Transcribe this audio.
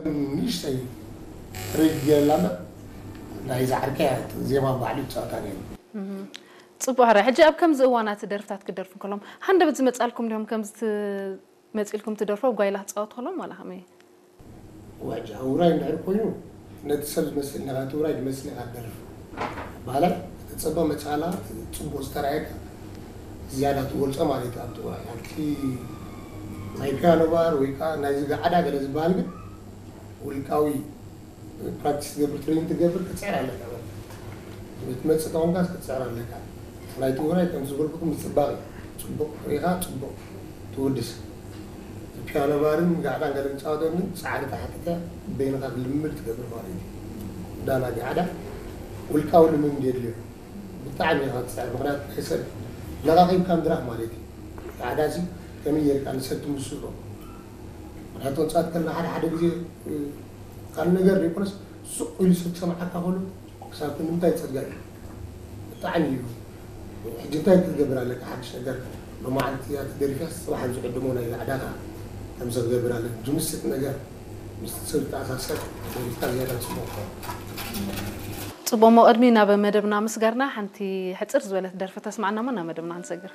ንእሽተይ ሪግ ገይርላ እምበር ናይ ዛዕርከያ ዜማ ባዕሉ ይፃወታ ነይሩ። ፅቡቅ ሕራይ። ሕጂ ኣብ ከምዚ እዋናት ደርፍታት ክደርፉ ከሎም ሃንደበት ዝመፃልኩም ድዮም? ከምዚ ት- መፂልኩም ትደርፎ ጓይላ ትፃወት ከሎም ዋላ ከመይ? ዋጅ ኣብ ውራይ እንድሕር ኮይኑ ነቲ ሰብ ዝመስል ነኻ እቲ ውራይ ዝመስል ኢኻ ትደርፍ ባላ ተፀበ መፃላ ፅቡቅ ዝተረኣየካ ዝያዳ ትገልፆ ማለት እዩ ኣብቲ ውራይ ኣብቲ ናይ ፒያኖ ባር ወይ ከዓ ናይዚ ገዓዳ ገለ ዝበሃል ግን ውልቃዊ ፕራክቲስ ትገብር ትሬኒንግ ትገብር ክትፅዕር ኣለካ ትመፅእ ተኾንካ ክትፅዕር ኣለካ ናይቲ ውራይ ከም ዝበልኩኩም ምፅባቅ እዩ ፅቡቅ ሪኢኻ ፅቡቅ ትውድስ ፒያኖ ባርን ጋዕዳን ገለ ምፃወተን ግን ፃዕሪ ተሓቲተ በይንኻ ልምምድ ትገብር ማለት እዩ ዳና ጋዕዳ ውልቃዊ ልምምድ የድልዮ ብጣዕሚ ኢኻ ትፅዕር ምክንያቱ ናይ ሰብ ለቓቂብካ ምድራፍ ማለት እዩ ጋዕዳ ሲ ከመይ ጌርካ ንሰብ ትምስሎ ምክንያቱ ወፃት ከለና ሓደ ሓደ ግዜ ካልእ ነገር ዘይኮነስ ስቕ ኢሉ ሰብ ክሰምዓካ ከሎ ክሳብ ክንዲ እንታይ ፀጋ እዩ ብጣዕሚ እዩ ሕጂ እንታይ ክትገብር ኣለካ ሓድሽ ነገር ሎማዓንቲ እያ ተደሪፍያ ፅባሕ ዝዕድሞ ናይ ዕዳጋ ከምዚ ክገብር ኣለ ዝምስጥ ነገር ምስ ሰብ ተኣሳሰር ደሪፍካ ዝያዳ ፅቡቅ ክኸውን ፅቡቅ እሞ ቅድሚ ናብ መደብና ምስጋርና ሓንቲ ሕፅር ዝበለት ደርፊ ተስማዕና እሞ ናብ መደብና ክንሰግር